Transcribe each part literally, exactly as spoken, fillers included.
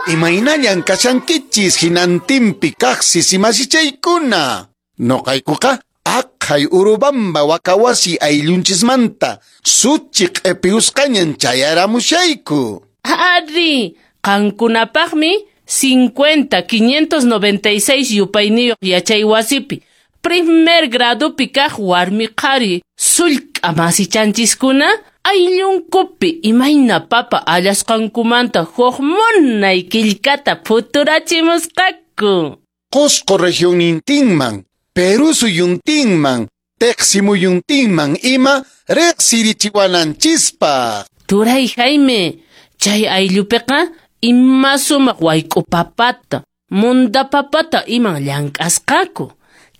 Imaynallan kashankichis hinantinpi kaq sisimashichaykuna. Noqaykuqa aqhay Urubamba wakawasi ayllunchismanta suchi q'epiusqañan chayaramushayku. Ari, qankunapaqmi cincuenta quinientos noventa y seis yupayniyuq yachay wasipi primer gradupi kaq warmi qhari sullk'a masichanchiskuna ayllunkupi imayna papa allasqankumanta huk munay killkata phuturachimusqaku. Qosqo regionnintinman, Perú suyuntinman, Teqsimuyuntinman ima riqsirichiwananchispaq. Turay Jaime, chay ayllupiqa ima sumaq wayk'u papata, munda papata iman llank'asqaku.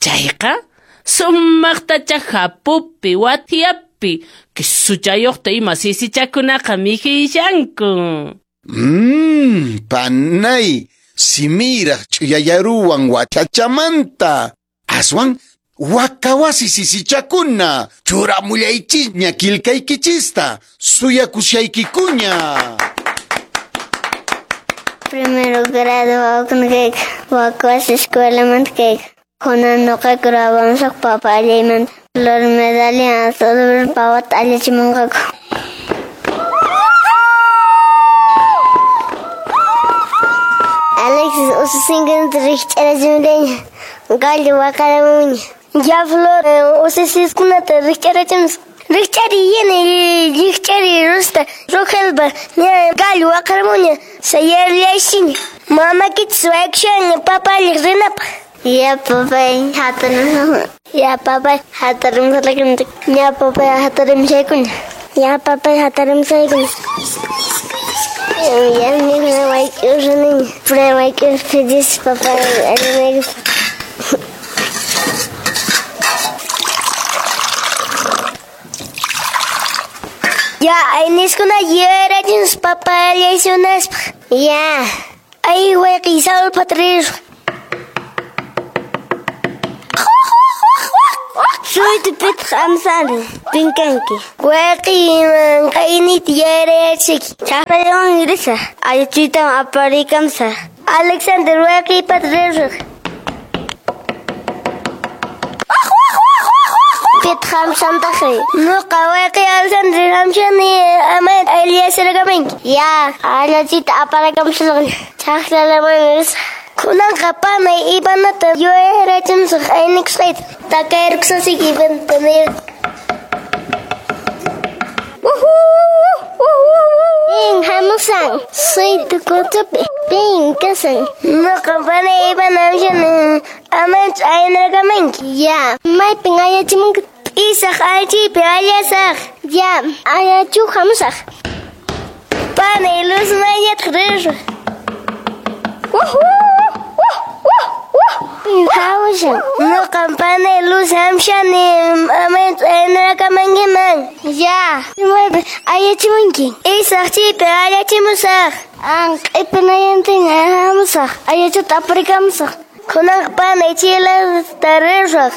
Chayqa sumaqtacha hapupi, wathiapi, kisuchayuqta ima sisichakunaqa mikhishanku. Mmm, panay, simiraq ch'uyayaruwan wachachamanta. Aswan, wakawasi sisichakuna, churamullaychisña killkaykichista, suyakushaykikuña. Primero grado wawakuna wakawasi escuelamanta kayku. Kunan noqayku grabamusaq papa allaymanta. Flor medalla todo pawata allachimunqaku. Alexis ususinkunata rikch'arachimullaña. Gallo waqaramuña. Ya Flor ususiskunata rikch'arachimus. Rikch'ari yana rikch'ari rusta Rogelba ña gallo waqaramuña sayarllashiña. Mama kichis wayk'ushaña papa alliq rinapaq. Ya papay hatarim. Ya papay hatarim salakun. Ya papay hatarim shaykun. Ya papay hatarim shaykun. Ya mi wayk'ushani. Pre wayk'ush pedis papay alliq. Ya ayniskuna yuyarachinus papa allaysunaspaq. Ya ay wayqi Saul patrir. Suytu pitaq amsani pinkanki. Wayqi qaynita yuyarachiki. Chaqrawan risaq. Aychuytan aparikamsaq. Alexander wayqi patrir. Pitaq amsantaqri. Nuqa wayqi Alexander amshani ama Eliasarakamanki. Ya aychuyta aparikamsaq. Chaqrawan risaq. Kunanqa panay ipanata yuyarachimusaq aynikusqayta. Takayrkusasiki ipanta nir. Pin hamusan suytu kutupi pin kasan. Nuqa panay ipana amshani amanchu aynarakamanki. Ya maypin ayachimunki. Isaq aychipi allasaq. Ya ayachu hamusaq. Panay luz mañataq risaq. Hawshan. Nuqam panay luz hamshani amanchu aynarakamankiman. Ya maypi ayachimunki. Isaq chaypi allachimusaq. An q'ipinayantin hamusaq. Ayachuta aparikamusaq. Kunanqa panay chilata risaq.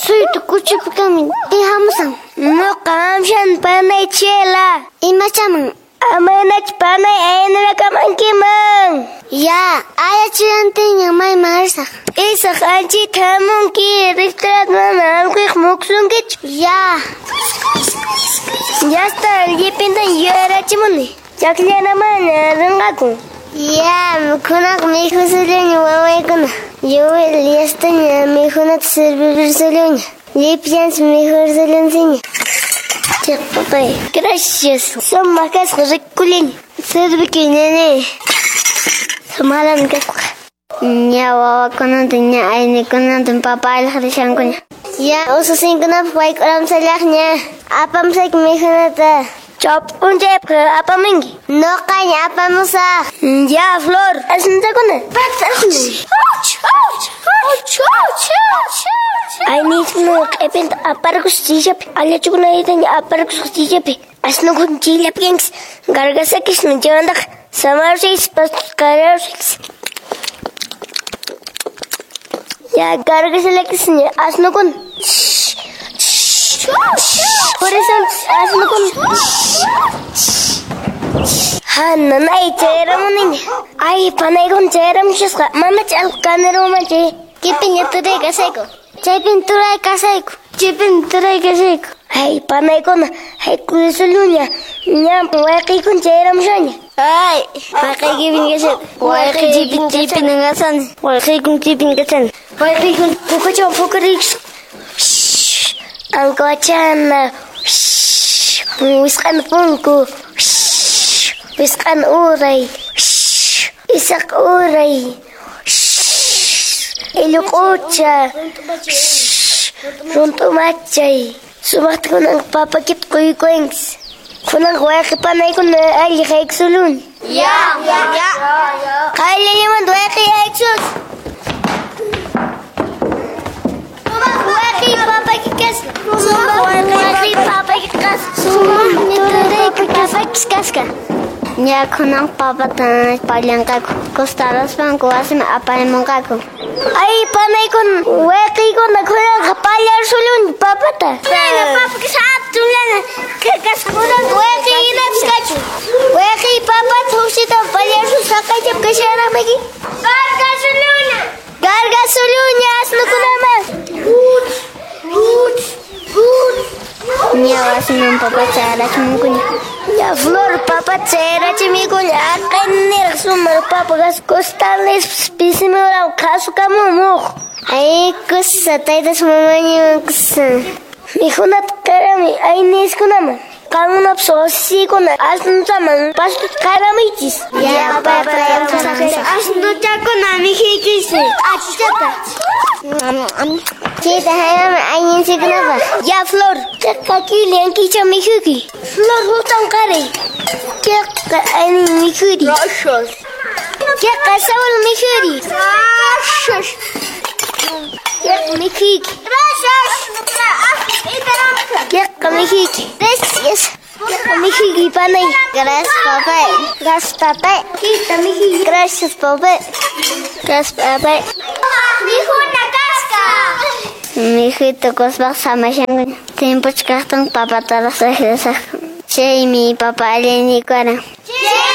Suytu kuchupi kamin. Pin hamusan. Nuqa hamshan panay chila. Imachaman. Amanach panay aynarakamankiman. Ya ayachuyantinña mayman risaq. Isaq anchita hamunki riqtarat mana amqiq muksunkichu. Ya. Yasta llipintan yuyarachimuni. Chaqllanamana rinqaku. Ya kunanqa mikhusullaña wawaykuna. Yuwil yastaña mikhunata sirvirsuluña. Llipillanchis mikhursulunsiña. Chiq papay. Gracias. Sumaq kasqa rikullani. Sirviki nene. Sumalan kasqa. Ña wawakunata ña aynikunata papa alliq rishankuña. Ya ususinkunapaq wayk'uramsallaqña. Apamsayki mikhunata. Chop p'unchaypaq apamunki. Nuqaña apamusaq. Ya Flor. Asntakuna. Ayniskuna q'ipinta aparkus chillapi. Allachukunaytaña aparkus chillapi. Asnukuna chillapi kanchis. Gargasakismi chaymantaqa samarusaychis pastuskararusaychis. Ya gargasalakisña asnukuna. Purisunchis asnukuna. Hananay chayaramuniña. Ay, panaykuna chayaramushasqa. Mamacha allqu kanirumanchu chay. Chaypiña turay kasayku. Chaypin turay kasayku. Chaypin turay kasayku. Ay, panaykuna, ay kuysuluña. Ña wayqiykuna chayaramushaña. Ay, wayqiykipin kasayku. Wayqiykipin chaypin kasani. Wayqiykun chaypin kasani. Wayqiykun pukachawan pukarikusqa. Ankawachana. Wisq'ana punku. Wisq'ana uray. Isaq uray. Illuq'ucha. Runtumachay. Sumaqta kunanqa papakita quykuwanchis. Kunanqa wayqi panaykuna alli haykusuluni. Ya, ya. Qayllallamanta wayqi haykusus. Wayqi papaki kasqa. Sumaq wayqi papaki kasqa. Sumaq turayku papakis kasqa. Ña kunan papata pallanqaku. Costaraspanku wasiman aparimunqaku. Ay, panaykuna, wayqiykuna kunanqa pallarsuluni papata. Nana, papakis hatunllana kasqa. Kunanqa wayqiynapis kachun. Wayqi papata huksita pallarsul saqaychap kasharaqmiki. Gargasuluna. Gargasuluña asnukunaman. Uch, uch, uch. Ña wasiman papa chayarachimunkuña. Ya Flor papa chayarachimikuña. Aqayniraq sumaq papa kasqa. Costales pisimuraw qhasukamun muq. Ay, kusa, taytas mamañiwan kusa. Mikhunata qarami ayniskunaman. Qamkunapas wasiykuna asnutaman pastuta qaramuychis. Ya, papa, Asnuchakuna mikhuychis. Achichata. Chayta hayman ayninchikkunapaq. Ya Flor, chayqa kili ankicha mikhuyki. Flor huktan qaray. Chayqa aynin mikhuri. Gracias. Chayqa Saúl mikhuri. Gracias. Chayqa mikhuyki. Gracias. Chayqa mikhuyki. Gracias. Chayqa mikhuyki panay. Gracias, papá. Gracias, papá. Chayta mikhuyki. Gracias, papá. Gracias, papá. Mikhuna kasqa. Mikhuyta kuspaq samashankuña. Timpuchkaqtin papataraq saqrisaq. Chaymi papa alliniykuwaran. Chay